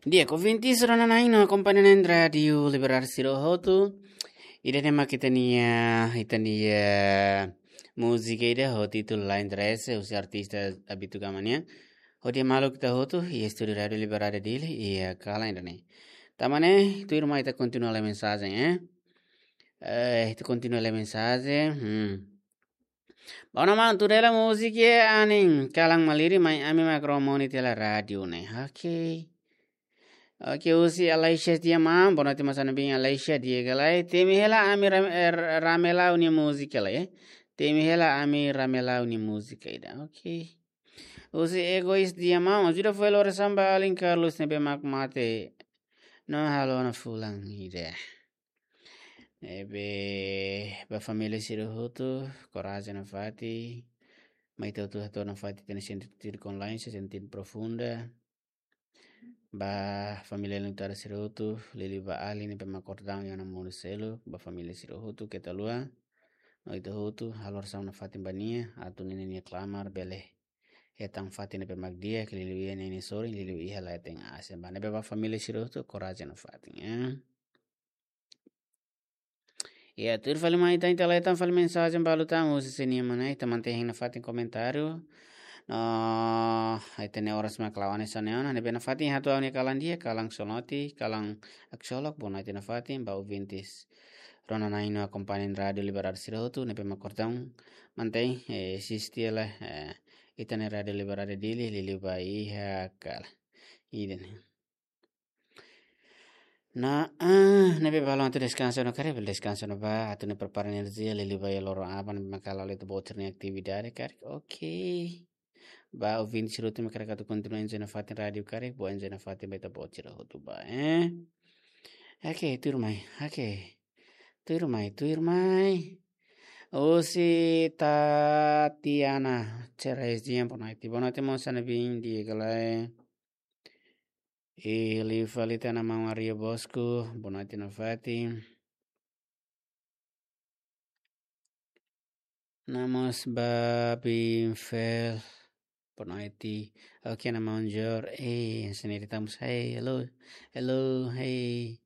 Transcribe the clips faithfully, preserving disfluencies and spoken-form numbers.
Di'ak, ouvintes rona-na'in no akompaña rádiu Liberdade sira hotu. Ida-ne'e mak ita-nia, ita-nia múzika ida ho títulu Lain Dress, husi artista Abito Gama nian. Hodi maluk ita hotu, iha estúdiu Rádiu Liberdade Dili, iha kalan ida-ne'e. Tan ne'e, tuirmai ita kontinua lai mensajen, eh. Eh, ita kontinua lai mensajen. Hmm. Bom, maun, tuir hela múzika, anin, kalan malirin, mai ami mak rona mós tiha ona rádiu ne'e. Ok. Ok, husi Aleixia Diamant, boa noite, maun, sá-na'in, Aleixia, di'ak ka lae. Temi hela ami ram-, eh, Ramelau nia múzika lai, eh. Temi hela ami Ramelau nia múzika ida. Ok. Husi Egois Diamant, ajuda fó hela orasaun ba alin Carlos ne'ebé mak mate. No halo ona fulan ida. Ne'ebé ba família sira hotu, korajen nafatin. Mai ita hotu hato'o nafatin ita-nia sentidu konlain, sentidu profunda. Ba família alin Utara sira hotu, liuliu ba alin ne'ebé mak kordau iha ona mundu seluk, ba família sira hotu, keta haluha. No ita hotu, halo orasaun nafatin ba nia, atu ninia klamar bele hetan fatin ne'ebé mak di'ak, liuliu iha ninia sorin, liuliu iha leten asen. Ba ne'ebé ba família sira hotu, korajen nafatin, eh. Ya, tuir fali mai ita, ita leten fali mensajen balu tan, husi sira-nia mana, ita mantein nafatin komentáriu. No, ita-nia oras mak la'o hanesan ne'e ona, ne'ebé nafatin hato'o ha'u-nia kalan di'ak, kalan Solnoti, kalan Aksolok, boa noite nafatin, ba ouvintes rona-na'in no akompaña Rádiu Liberdade sira hotu, ne'ebé mak kordau, mantein, eh, asiste hela, eh, ita-nia Rádiu Liberdade Dili, liuliu ba iha kalan ida-ne'e. No, ah, ne'ebé balun atu deskansa ona karik, bele deskansa ona ba, atu nune'e prepara enerjia, liuliu ba iha loron aban, mak halo ita-boot sira-nia atividade karik. Ok. Ba ouvinte sira hotu mak hakarak atu kontinua enjoy nafatin rádiu karik, bele enjoy nafatin ba ita-boot sira hotu ba, eh. Ok, tuirmai, ok. Tuirmai, tuirmai. Husi Tatiana Ceres Diamant, boa noite. Boa noite, maun, sá-na'in, di'ak ka lae. I liu fali tan maun Aryo Bosco, boa noite nafatin. No mós ba Binfel, boa noite. Ok, maun Jor, eh, sini di tamu, hey, hello, hello, hey.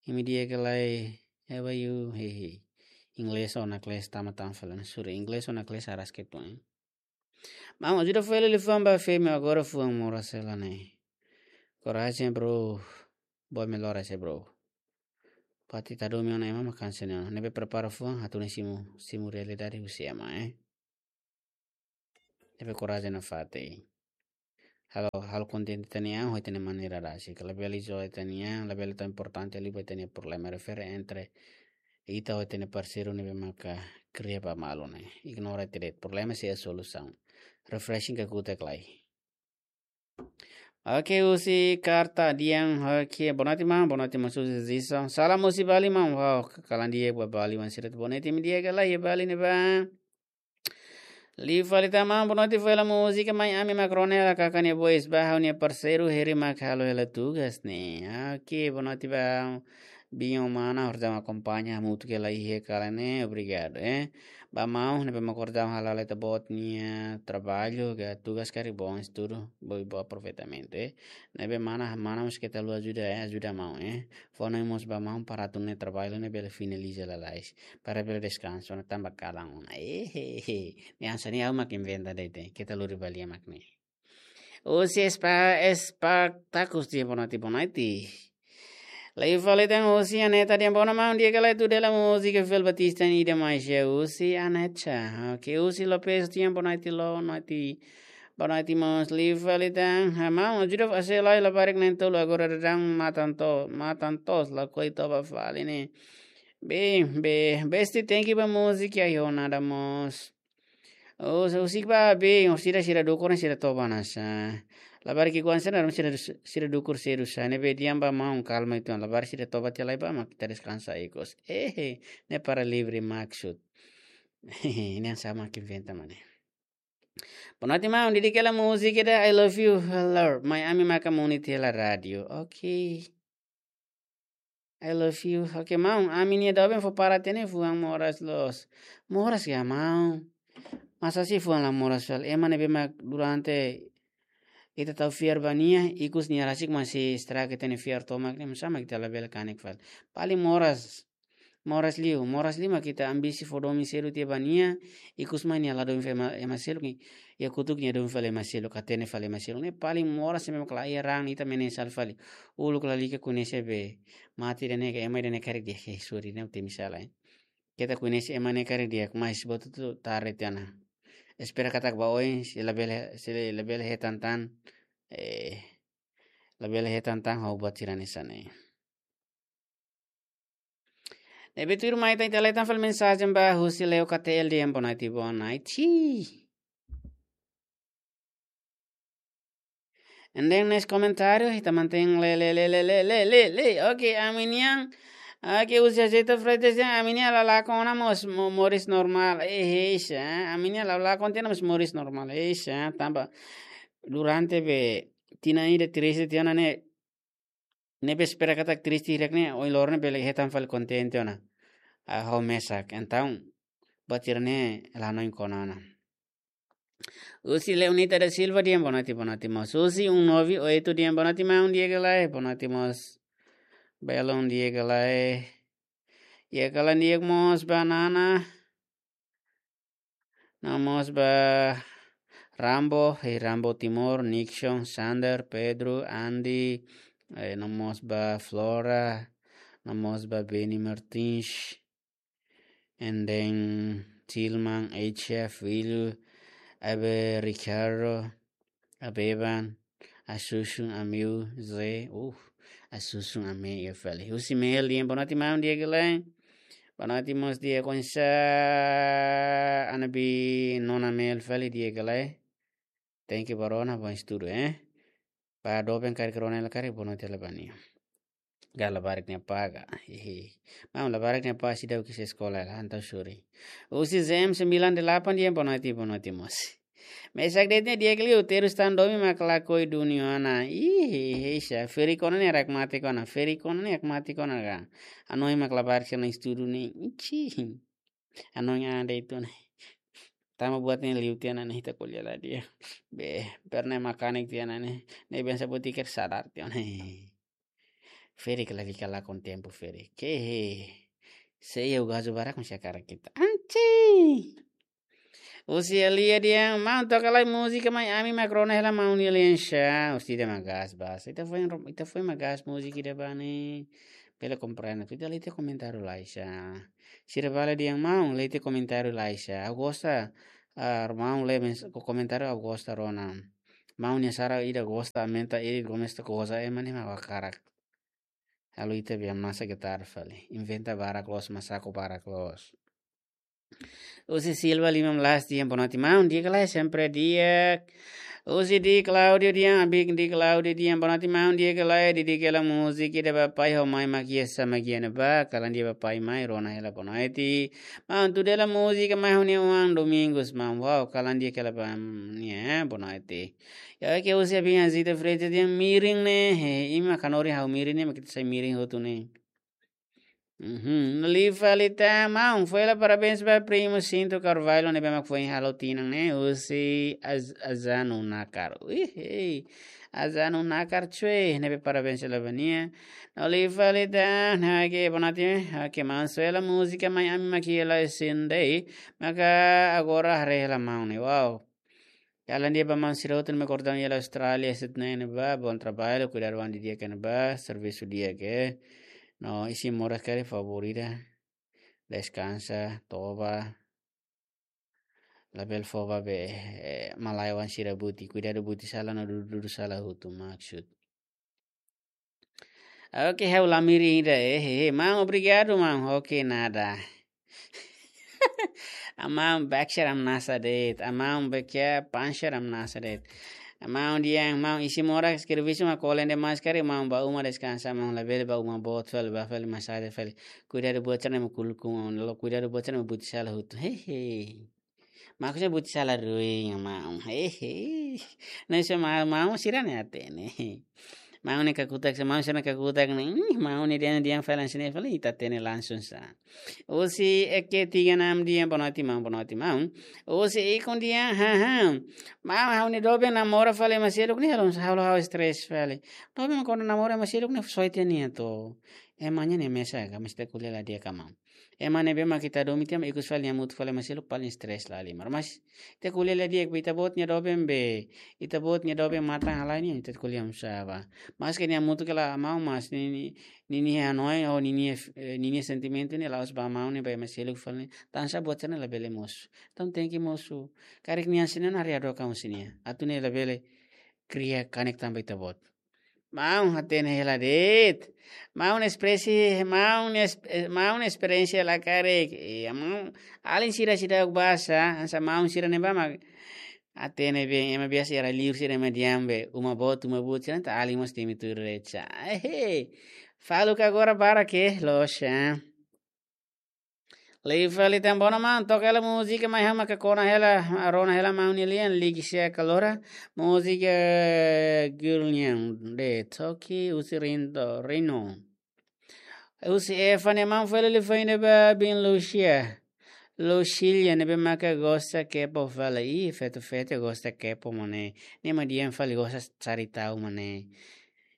Imi di'ak ka lae, how are you? Hey, hey. Inglés ona kles tama tan fali, sure, inglés ona kles aras ke tuan. Maun, ajuda fó hela liafuan ba Femi, agora fuan moras hela ne'e. Korajen, bro. Boa melhoras, eh, bro. Pati tadu mi ona ema makan sene ona. Ne'ebé prepara fuan, atu nune'e simu, simu realidade husi ema, eh. Ne'ebé korajen nafatin. Halo, halo kontente ita-nia an, ho ita-nia maneira rasik. Labele izola ita-nia an, labele tau importante liu ba ita-nia problema. Refere entre ita ho ita-nia parseiru ne'ebé maka kria ba malu ne'e. Ignora ita de'it, problema sei iha solusaun. Refreshing ka kuta klai. Ok, husi Karta Dian, ok, boa noite, maun, boa noite, maun Susi Zison. Salam husi Bali, maun, wow, kalan di'ak ba Bali, maun sira, boa noite, imi di'ak ka lae iha Bali ne'ebá. Liu fali tan maun, boa noite, fó hela múzika, mai ami mak rona hela kakan nia voice ba ha'u-nia parseiru Heri mak halo hela tugas ne'e. Ok, boa noite ba Binho mana, obrigadu akompaña hamutuk hela iha kalan ne'e, obrigadu, eh. Ba maun, ne'ebé mak kordau hala'o ita-boot nia traballu, ka tugas karik bom estudu, bom, bom aproveitamentu, eh. Ne'ebé mana, mana mós keta haluha ajuda, eh, ajuda maun, eh. Fó hanoin mós ba maun para atu nune'e traballu ne'e bele finaliza lalais. Para bele deskansa ona tanba kalan ona. Eh, he, he. Ne'e hanesan ne'e ha'u mak inventa de'it, eh. Keta lori ba lia mak ne'e. Husi Espa-, Espartacus Diamant, boa noite, boa noite. Liu fali tan husi Aneta Diamant, boa noite, maun, di'ak ka lae, tuir hela múzika Fel Batista nia ida mais, husi Aneta. Ok, husi Lopes Diamant, boa noite, boa noite. Boa noite, maun. Liu fali tan, ah, maun, ajuda fó hela labarik na'in-tolu agora daudaun matan to-, matan toos, lakohi toba fali ne'e. Bem, be, besti, thank you ba múzika, ai ho nada mós. Oh, so, husik ba be, oh, sira, sira dukur ne'e sira toba hanesan. Labarik ki'ikoan sira, sira, sira dukur sira hanesan. Ne'ebé di'ak ba maun, kalma uitoan. Labarik sira toba tiha lai ba, mak ita deskansa ikus. Eh, eh, ne'e para livre maksud. Ne'e hanesan mak inventa mak ne'e. Boa noite, maun. Dedika hela múzika ida I Love You, Lord. Mai ami maka muni tiha hela rádiu. Ok. I love you. Ok, maun, ami-nia doben fó para tiha ne'e fuan moras loos. Moras ka, maun? Masa sei fuan la moras fali? Ema ne'ebé mak durante ita tau fiar ba nia, ikus nia rasik mós estraga ita-nia fiar tomak ne'e, oinsá mak ita labele kanek fali. Paling moras, moras liu, moras liu mak ita ambisi fó domin seluk tiha ba nia, ikus mai nia la domin fali ema, ema seluk, iha kotuk nia domin fali ema seluk, hatene fali ema seluk. Ne'e paling moras, ema mak la iha raan, ita menyesal fali. Uluk lalika koñese be mate ida-ne'e, ema ida-ne'e karik di'ak, eh, sorry, ne'e temi sala, eh. Keta koñese ema ne'e karik di'ak, mas buat hotu tarde tiha ona. Espera katak ba oin, se labele, se labele hetan tan, eh, labele hetan tan ho buat sira hanesan ne'e. Ne'ebé tuirmai ita, ita leten fali mensajen ba husi Leo K T L dehan boa noite, boa noite. And then next komentáriu, ita mantein lee, lee, lee. Oke, ami-nian. Oke, husi José Freitas dehan, ami-nian la lakon ona mós mo-, moris normál. Eh, eh, sá, ami-nian la lakon tiha ona mós moris normál. Eh, sá, tanba durante be tinan ida triste tiha ona ne'e, ne'ebé espera katak triste hirak ne'e, ohin loron ne'e bele hetan fali kontente ona. Ah, ho mesak. Entaun, buat sira-ne'e la hanoin kona ona. Husi Leonita da Silva dehan boa noite, boa noite mós. Husi um nove oito dehan boa noite, maun di'ak ka lae, boa noite mós. Belun di'ak ka lae. Iha kalan di'ak mós ba Nana. No mós ba Rambo, eh, Rambo Timor, Nixon, Sander, Pedro, Andy, eh, no mós ba Flora, no mós ba Benny Martins, and then Tilman, H F, Willu, Abe, Ricardo, Abeban, Asusun, Amiu, Zé, uh, Asusun, Ame, iha fali. Husi Mel dehan boa noite, maun di'ak ka lae. Boa noite mós di'ak, oinsá, Anabi, Nona Mel fali, di'ak ka lae. Thank you ba rona, bom estudu, eh. Ba doben karik rona hela karik, boa noite hela ba nia. Ka labarik nia apá ka. Hehe. Maun, labarik nia apá seidauk iha eskola hela, entaun sorry. Husi Z M sembilan delapan dehan boa noite, boa noite mós. Mesak de'it ne'e di'ak liu, terus tan domin mak lakohi duni ona. Ih, ih, ih, sá, ferik ona ne'e hakmatek ona, ferik ona ne'e hakmatek ona ka. Hanoin mak labarik sira-nia estudu ne'e. Ih, cih. Hanoin an de'it ona. Tanba buat ne'e liu tiha ona ne'e, ita ko'alia lai de'it. Be, pernah makanek tiha ona ne'e. Ne'e bensa buat iker sadar tiha ona. Ferik lalika lakon tempu ferik. Ke he. Se iha gazo barak mesti hakarak ita. Anchi. Husi Elia dehan, maun toka lai múzika mai ami mak rona hela maun Elia sá. Husi ida mak gas bas. Ita foin ro-, ita foin mak gas múzika ida ba ne'e. Bele komprende. Ita lee tiha komentáriu lai sá. Sira bala dehan maun lee tiha komentáriu lai sá. Ha'u gosta, ah, maun lee mens-, ko-, komentáriu ha'u gosta rona. Maun nia sara ida gosta, aumenta ida gomes ta goza, eh, mane ma wakarak. Halo ita be hamnasa getar fali. Inventa barak loos, masaku barak loos. Husi Silva lima belas dehan boa noite maun, di'ak ka lae, sempre di'ak. Husi Di Claudio dehan, abik Di Claudio dehan boa noite maun, di'ak ka lae, didik hela múzika ida ba pai ho mai mak iha sá mak iha ne'ebá, kalan di'ak ba pai mai, rona hela boa noite. Maun tuda hela múzika mai ha'u-nia oan Domingos maun, wow, kalan di'ak hela ba nia, eh, boa noite. Ya, ke husi abin Azita Freitas dehan mirin ne'e, he, imi mak hanorin ha'u mirin ne'e, mak ita sai mirin hotu ne'e. Uhum. Liu fali tan, maun, fó hela parabéns ba primo Cinto Carvalho ne'ebé mak foin halo tinan ne'e, husi Az-, Azanu Nakar. Ih, ei. Azanu Nakar, cuy, ne'ebé parabéns hela ba nia. No liu fali tan, oke, boa noite, oke, maun, fó hela múzika mai ami mak iha la sendei, maka agora haree hela maun ne'e, wow. Kalan di'ak ba maun sira hotu ne'ebé kordang iha la Austrália, Sydney ne'ebá, bom trabalho, kuidadu an didi'ak iha ne'ebá, servisu di'ak, eh. No isin moras karik favór ida. Deskansa, toba. Labele fó ba be, eh, malae oan sira buti, kuidadu buti sala no dudu, dudu sala hotu maksud. Oke, ha'u la mirin ida, eh, he, he, maun, obrigadu, maun. Oke, nada. Maun, baksher hamnasa de'it. Maun, baksher, pancher hamnasa de'it. Maun dehan, maun, isin moras servisu mak kolen demais karik, maun, bá uma deskansa, maun, labele bá uma boot fali, bá fali, masaje fali. Kuidadu buat sira-ne'e mak kulkun, maun, la'ós kuidadu buat sira-ne'e mak buti sala hotu. He, he. Maksudnya buti sala ruin, maun. Hehe. Nah, so ma-, maun sira-ne'e hatene. Maun ne'e kakutak, se maun sira kakutak ne'e, ih, maun ne'e dehan, dehan fali hanesan ne'e fali, ita hatene langsung sa. Husi Eke tiga enam dehan boa noite maun, boa noite maun. Husi Ikun dehan, ha, ha. Maun, ha'u-nia doben namora fali ema seluk ne'e, halo, halo ha'u stress fali. Doben kuandu namora ema seluk ne'e, soe tiha nia to. Ema nia ne'e mesak ka, mas ita ko'alia la di'ak ka maun. Ema ne'ebé mak ita domin tiha mak ikus fali nia hamutuk fali ema seluk paling stress lahalimar. Mas ita ko'alia la di'ak, ita-boot nia doben be, ita-boot nia doben matan halai nian, ita ko'alia oinsá ba. Maske nia hamutuk hela maun, mas ni, ni, ninia hanoin, ou ninia, eh, ninia sentimentu ne'e la'ós ba maun ne'e, ba ema seluk fali. Tansá buat sira-ne'e labele mosu. Entaun tenke mosu. Karik nia hanesan ne'e, nia haree hadook ka husi nia. Atu ne'e labele kria kanek tanba ita-boot. Maun hatene hela de'it. Maun espresi, maun es-, eh, maun esperiénsia la karik. Iya, maun, alin sira seidauk basa, hanesan maun sira ne'ebá mak hatene be, ema biasa iha rai-liur sira ema dehan be, uma boot, uma boot sira, entaun alin mós temi tuir recha. Ehe. Faluk agora barak ke, loos, ah. Liu fali tan, bono maun, toka hela múzika mai ha'u maka kona hela, rona hela maun nia lian, ligi sia kalora, múzika Gulnian de Toki, husi Rindo, Rino. Husi Eva nia maun fali liu fali ne'ebá bin Lucia. Lucia ne'ebé maka gosta K-pop fali, ih, feto-feto gosta K-pop mane. Nia mak dehan fali gosta Saritau mane.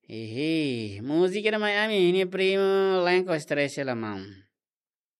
Ihi, múzika ida mai ami, nia primo lenko stress hela maun.